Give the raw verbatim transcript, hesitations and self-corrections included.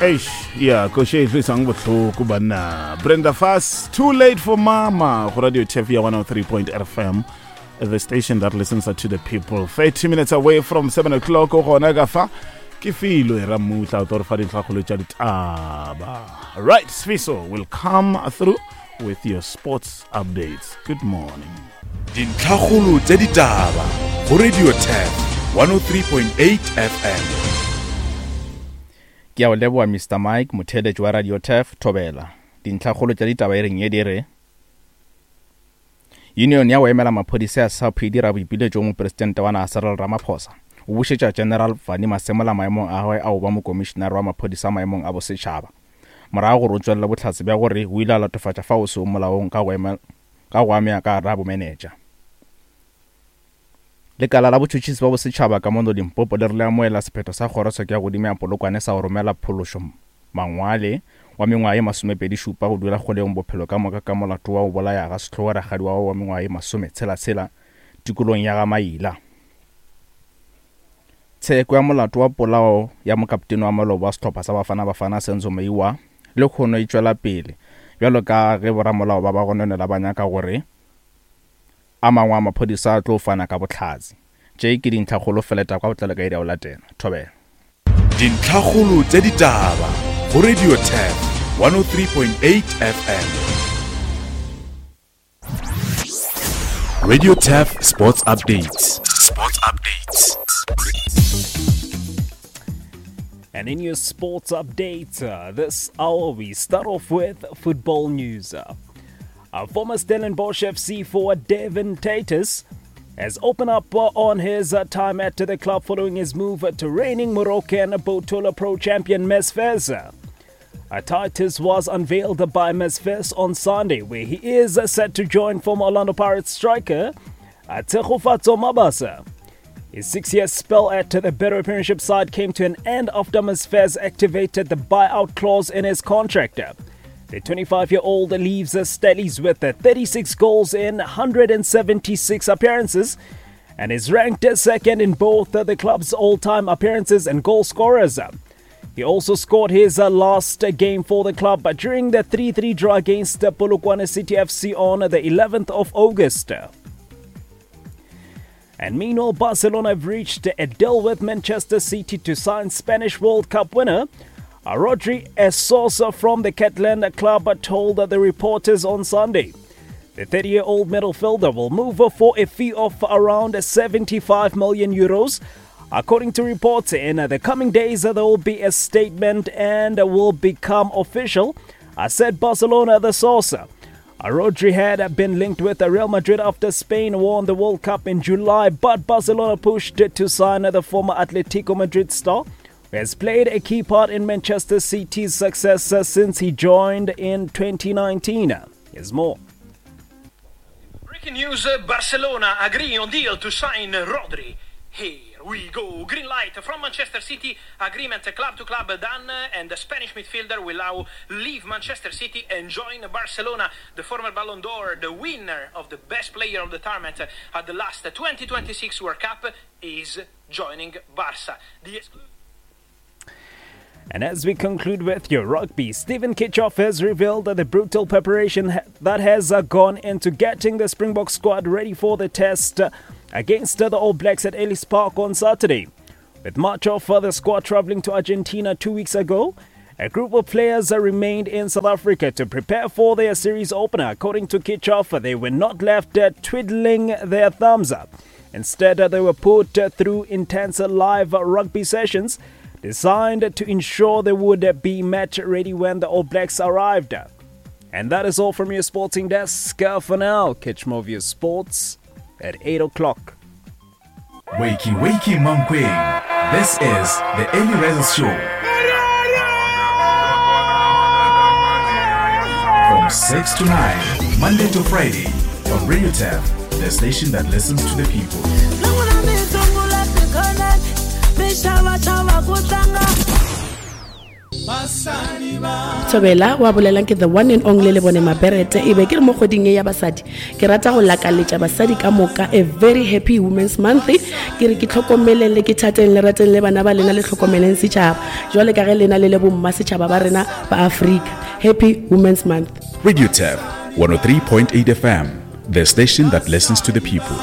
Eish, yeah, koše e tlwisang bohloko banna. Brenda Fassie, Too Late for Mama, go Radio T F ya one oh three point F M, the station that listens to the people. thirty minutes away from seven o'clock, o gona ka fa, ke filo e ramutla, o tlo re fa dintlhakgolo tša ditaba. Right, Sfiso will come through with your sports updates. Good morning. Dintlhakgolo tša ditaba go Radio T F one oh three point eight F M. Ke a o leboha Mister Mike, motheeletši wa Radio T F, Thobela. Dintlhakgolo tša ditaba e reng ye di re Union ya go emela maphodisa ya S A P e dira boipiletšo go mopresidente wa naga Cyril Ramaphosa. O bušetša General Fannie Masemola maemong a gagwe a go ba mokomišenare wa maphodisa maemong a bosetšhaba. Morago gore o tswelele bohlatse bja gore o ile a latofatša fa o se o molaong ka go emela, ka go amea ka gare ga bomenetša. Lekala la botšhotšhisi ba bosetšhaba ka mono Limpopo le re le amohela sephetho sa kgorotsheko ya godimo ya Polokwane sa go romela Phološo Mangwale wa mengwaga ye masomepedi šupa go dula kgolegong bophelo ka moka ka molato wa go bolaya ga sehlogo rakgadi wa gagwe wa mengwaga ye masometshela-tshela tikolong ya ga Maila. Tsheko ya molato wa polao ya mokaptene wa maloba wa sehlopha sa Bafana Bafana Senzo Meyiwa le kgono e tšwela pele bjalo ka ge boramolao ba ba gononela ba nyaka gore a mangwe a maphodisa a tlo fana ka bohlatse. Tše ke dintlhakgolo feleta kwa botlalo ka iri ya go latela. Thobela. Dintlhakgolo tša ditaba go Radio T F one oh three point eight F M. Radio T F Sports Updates. Sports Updates. And in your sports update, uh, this hour we start off with football news. Uh, our former Stellenbosch F C forward Devin Titus has opened up, uh, on his, uh, time at the club following his move to reigning Moroccan Botola Pro champion M S Fez. Uh, Titus was unveiled by M S Fez on Sunday, where he is set to join former Orlando Pirates striker, uh, Tshegofatso Mabasa. His six-year spell at the Betway Premiership side came to an end after M S Fez activated the buyout clause in his contract. The twenty-five-year-old leaves the Stellies with thirty-six goals in hundred seventy-six appearances and is ranked second in both the club's all-time appearances and goal scorers. He also scored his last game for the club during the three three draw against Polokwane City F C on the eleventh of August. And meanwhile, Barcelona have reached a deal with Manchester City to sign Spanish World Cup winner Rodri. A source from the Catalan club told the reporters on Sunday. The thirty-year-old midfielder will move for a fee of around seventy-five million euros. According to reports, in the coming days there will be a statement and will become official, said Barcelona, the source. Rodri had been linked with Real Madrid after Spain won the World Cup in July, but Barcelona pushed to sign the former Atletico Madrid star, who has played a key part in Manchester City's success since he joined in twenty nineteen. Here's more. Breaking news, Barcelona agree on deal to sign Rodri. Here we go. Green light from Manchester City. Agreement club to club done, and the Spanish midfielder will now leave Manchester City and join Barcelona. The former Ballon d'Or, the winner of the best player of the tournament at the last twenty twenty-six World Cup, is joining Barca. The exclu- And as we conclude with your rugby, Steven Kitshoff has revealed that the brutal preparation ha-, that has, uh, gone into getting the Springbok squad ready for the test, uh, against the All Blacks at Ellis Park on Saturday. With much of the squad travelling to Argentina two weeks ago, a group of players remained in South Africa to prepare for their series opener. According to Kitshoff, they were not left, uh, twiddling their thumbs up. Instead, uh, they were put, uh, through intense live rugby sessions designed to ensure they would be match ready when the All Blacks arrived. And that is all from your sporting desk for now. Catch more of your sports at eight o'clock. Wakey, wakey, Mankweng. This is the Early Risers Show. From six to nine, Monday to Friday, on Radio T F, the station that listens to the people. Basadi ba Thobela wa bolelang ke the one and only le bone Maberete. E be ke re mo kgweding ye ya basadi, ke rata go lakaletša basadi ka moka a very happy Women's Month. Ke re ke tlhokomeleng le ke thateng le rateng le bana ba lena, le tlhokomeleng setšhaba jwale ka ge lena le le bomma setšhaba ba rena ba Afrika. Happy Women's Month. Radio Turf one oh three point eight F M, the station that listens to the people.